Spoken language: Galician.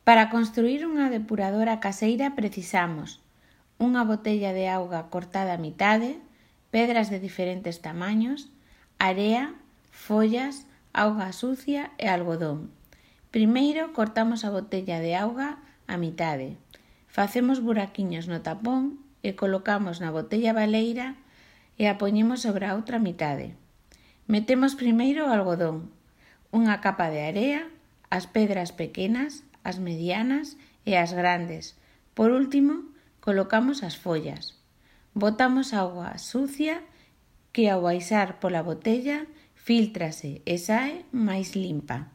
Para construir unha depuradora caseira precisamos unha botella de auga cortada a mitade, pedras de diferentes tamaños, area, follas, auga sucia e algodón. Primeiro cortamos a botella de auga a mitade. Facemos buraquiños no tapón e colocamos na botella baleira e a poñemos sobre a outra mitade. Metemos primeiro o algodón, unha capa de area, as pedras pequenas, as medianas e as grandes. Por último, colocamos as follas. Botamos auga sucia que ao baixar pola botella filtrase e sae máis limpa.